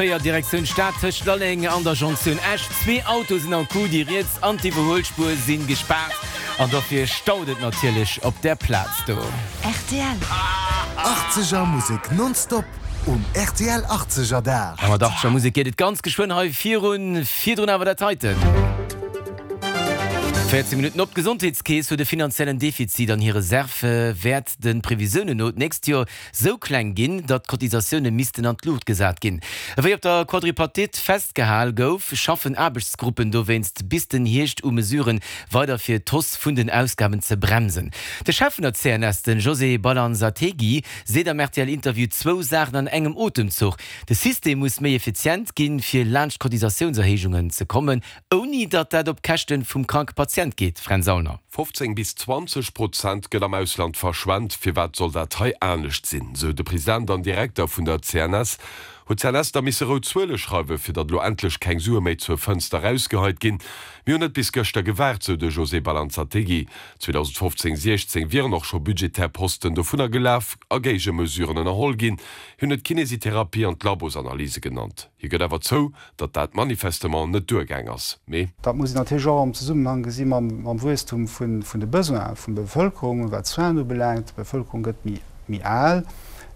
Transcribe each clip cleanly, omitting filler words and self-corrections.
4 Direktioun Stad tëscht Lalleng an der Jonktioun Esch. Zwee Autoe sinn am Coup, déi riets an d'Iwwerhuelspuer si gespaart an dofir staut et natierlech op där Plaz do. Rtl. Achtzeger Musek nonstop um rtl Achtzeger Dag. A mat Achtzeger Musek geet et ganz geschwënn hei virun. Virdrun awer dat heiten. 14 Minutten op. D'Gesondheetskeess huet e finanziellen Defizit an hir Reserve wäert de Previsiounen no d'nächst Joer sou kleng ginn, datt d'Cotisatioune missten an d'Luucht gesat ginn. Ewéi op der Quadripartite festgehal gouf, schaffen Aarbechtsgruppen dowéinst bis den Hierscht u Mesuren weider fir d'Hausse vun den Ausgaben ze bremsen. De Chef vun der CNS, de José Balanzategui, seet am RTL-Interview zwou Saachen an engem Otemzuch, De System muss méi effizient ginn, fir laanscht Cotisatiounserhéijungen ze kommen, Ouni datt dat op Käschten vum kranke Patient geet, Fränz Aulner. 15 bis 20 Prozent gëtt am Ausland verschwent. Firwat soll dat hei anescht sinn? Sou de President an Direkter vun der CNS. Huet d'CNS da misse rout Zuele schreiwen, fir datt elo endlech keng Sue méi zur Fënster erausgeheit ginn? Mir hunn net bis gëschter gewaart, sou de José Balanzategui. 2015, 16 wieren och scho budgetär Posten dovunner gelaf a Géigemesuren ënnerholl ginn. Hien huet d'Kinesitherapie an d'Labosanalyse genannt. Hie gëtt awer zou, datt dat manifestement net duergaang ass, mee. Dat muss een natierlech och am Zesummenhang gesi mam Wuesstum vun de Besoine vun der Bevëlkerung, wat d'Soinen ubelaangt. D'Bevëlkerung gëtt méi al,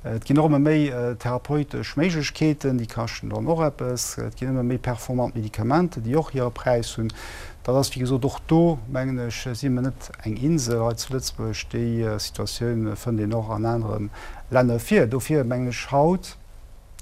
et ginn och ëmmer méi therapeutesch Méiglechkeeten, déi kaschten dann och eppes. Et ginn ëmmer méi performant Medikamenten, déi och hire Präis hunn. Dat ass, wéi gesot, och do, mengen ech, si mer net eng Insel hei zu Lëtzebuerg. Déi Situatioun fënnt een och an anere Länner vir. Dofir mengen ech haut,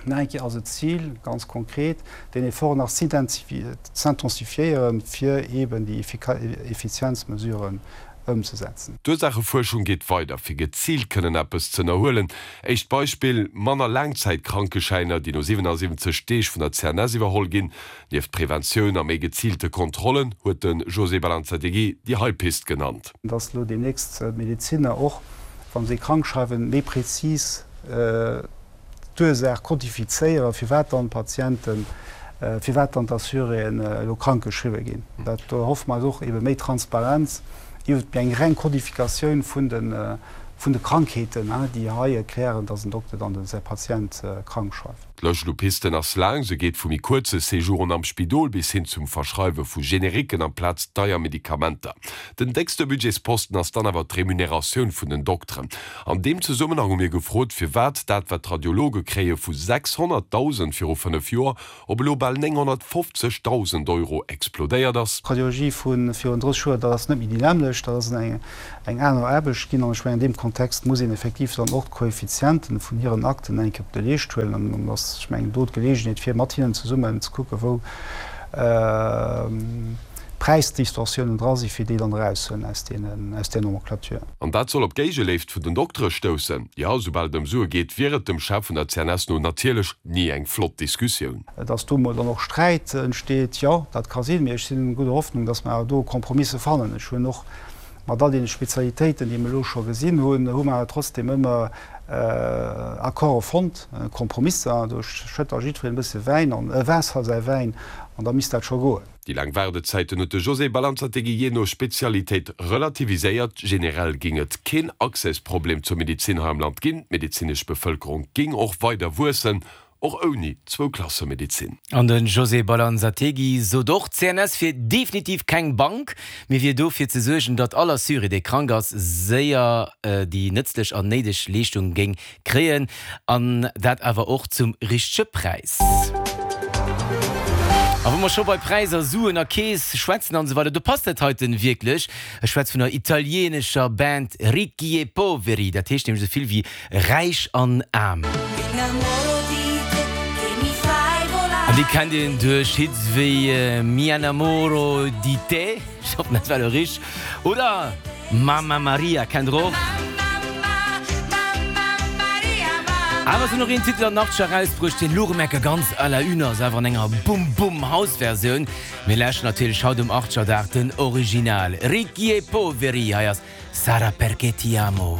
Nach eng Kéier ass et d'Zil, ganz konkret, deen Effort nach z'intensifiéieren, fir eeben déi Effizienzmesuren ëmzesetzen. D'Ursaachefuerschung geet weider, fir geziilt kënnen eppes z'ënnerhuelen. Éischt Beispill, manner Laangzäitkrankeschäiner, déi no 77 Deeg vun der CNS iwwerholl ginn. Nieft Preventioun a méi geziilte Kontrollen huet de José Balanzategui déi hei Pist genannt. Dass elo deemnächst d'Medezinner och, wa se krank schreiwen, méi prezis d'Ursaach kodifizéieren, firwat dann d'Patienten, firwat dann d'Assuréen elo krank geschriwwe ginn. Dat, do erhoffe mer eis och ebe méi Transparenz iwwert eng reng Kodifikatioun vun de, vun de Krankheeten, déi hei erklären, dass en Dokter dann de säi Patient krank schreift. D'Lëscht u Pisten ass laang, se geet vu méi kuerze Séjouren am Spidol bis hin zum Verschreiwe vu Generiquen amplaz deier Medikamenter. Den déckste Budgetsposten ass dann awer d'Remuneratioun vun den Dokteren. An deem Zesummenhang hu mir gefrot, firwat dat, wat d'Radiologe kréie vu 600.000 viru 5 Joer op elo bal 950.000 Euro explodéiert ass. D'Radiologie vu virun 30 Joer, dat ass net méi déi nämmlecht, dat ass eng aner Aarbecht ginn. An ech mengen, an deem Kontext muss een effektiv dann och d'Koeffizienten vun hiren Akten eng Kéier op de Leescht huelen. An dann ass, ech mengen, do d'Geleegenheet, fir mat hinnen zesummen ze kucken, wou Präisdistorsiounen dra sinn, fir déi dann erauszehuelen aus deenen, aus där Nomenclature. An dat soll op Géigeléift vun den Doktere stoussen. Jo, soubal et ëm Sue geet, wier et dem Chef vun der CNS no natierlech ni eng flott Diskussioun. Datt do mol dann och Sträit entsteet, jo, dat ka sinn, mee ech sinn gudder Hoffnung, datt mer awer do Kompromisse fannen. Ech hunn och mat all deene Spezialitéiten, déi mer elo scho gesinn hunn, hu mer awer trotzdem ëmmer Accorde fonnt, Kompromisser. Do schëtt da jiddwereen e bësse Wäin an, Waasser a säi Wäin an da misst dat scho goen. Déi laang Waardezäiten huet de José Balanzategui jee no Spezialitéit relativiséiert. Generell géing et keen Accèsproblem zur Medezin hei am Land ginn. D'medezinesch Bevëlkerung géing och weider wuessen, och ouni Zwou-Klasse-Medezin. An de José Balanzategui sot och, d'CNS wier definitiv keng Bank, mee wier do fir ze suergen, datt all Assuré, dee krank ass, séier déi nëtzlech an néideg Leeschtung géing Kréien, an dat awer och zum richtege Präis. A wou mer scho bei Präisser, Suen a Keess schwätzen an esou weider, do passt dat heiten wierklech. Ech schwätz vun der italienescher Band Ricchi e Poveri, dat heescht nämlech esou vill wéi räich an aarm. An déi kennt een duerch Hits wéi Mi innamoro di te. Ech hoffen dat war elo richteg. Oder Mamma Maria kennt der och. Awer se hunn och een Titel an den Achtzeger erausbruecht, deen elo rem enke ganz à la une ass, awer an enger Bum Bum House Versioun. Mir lauschteren natierlech haut um Achtzegerdag den Original Ricchi e Poveri. Hei ass Sarà perché ti amo.